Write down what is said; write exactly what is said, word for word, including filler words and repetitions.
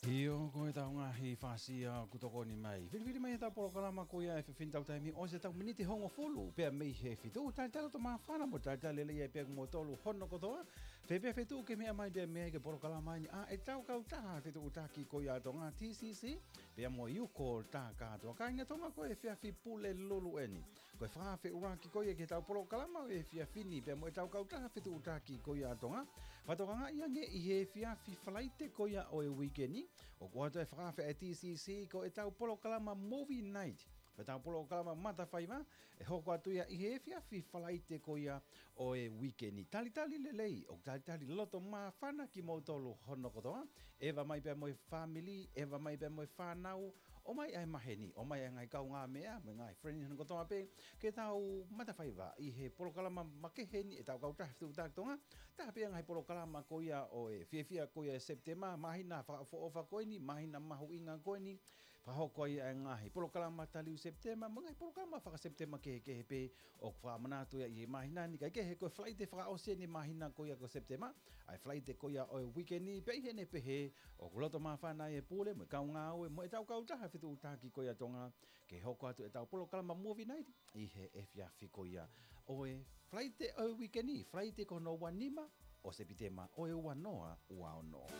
ʻIo, ko e tau ngaahi fāsia ʻoku tokoni mai. Filifili mai ʻetau polokalama ko ia he efiafi ni, tau taimi ʻosi ʻetau miniti hongofulu pea mei he fitu. Talitali loto māfana mo talitali lelei ai pē kimoutolu hono kotoa. Fē pē feituʻu ʻoku ke meʻa mai pea mei ai ki he polokalama ni ʻa ʻetau kautaha fetuʻutaki ko ia ʻa Tonga, T C C, pea mo e uko tā kātoa. Kāinga Tonga, ko e efiafi Pulelulu eni. Ko e fakaafe ʻuluaki ko ia ki heʻetau polokalama ʻo e efiafi ni pea mo ʻetau kautaha fetuʻutaki ko ia ʻa Tonga. Fakatokangaʻi ange ʻi he efiafi Falaite ko ia ʻo e uike ni, ʻoku ʻoatu e fakaafe ʻa e T C C ko ʻetau polokalama Movie Night, ko ʻetau polokalama matafaiva, ʻe hoko atu ia ʻi he efiafi Falaite ko ia ʻo e uike ni. Talitali lelei, ʻoku talitali loto māfana kimoutolu hono kotoa. ʻEva mai pea mo e fāmili, ʻeva mai pea mo e fānau, ʻomai ʻa e maheni, ʻomai ʻa e ngaahi kaungāmeʻa, mo e ngaahi friend hono kotoa pē, ke tau matafaiva ʻi he polokalama makehe ni ʻetau kautaha fetuʻutaki Tonga. Taha pē ʻa e ngaahi polokalama ko ia ʻo e fiefia ko ia ʻi Sepitema, māhina fakaʻofoʻofa ko eni, māhina mahuʻinga ko eni, fakahoko ai ʻa e ngaahi polokalama taliu Sepitema, mo e ngaahi polokalama faka-Sepitema kehekehe pē ʻoku fakamanatu ia ʻi he māhina ni. Kae kehe, ko e Falaite fakaʻosi eni māhina ko ia ko Sepitema, ʻa e Falaite ko ia ʻo e uike ni, pea ʻi heʻene pehē, ʻoku loto māfana ai e pule mo e kau ngāue mo ʻetau kautaha fetuʻutaki ko ia ʻa Tonga ke hoko atu ʻetau polokalama Movie Night ʻi he efiafi ko ia ʻo e Falaite ʻo e uike ni, Falaite ko hono ua nima ʻo Sepitema ʻo e ua noa ua ono.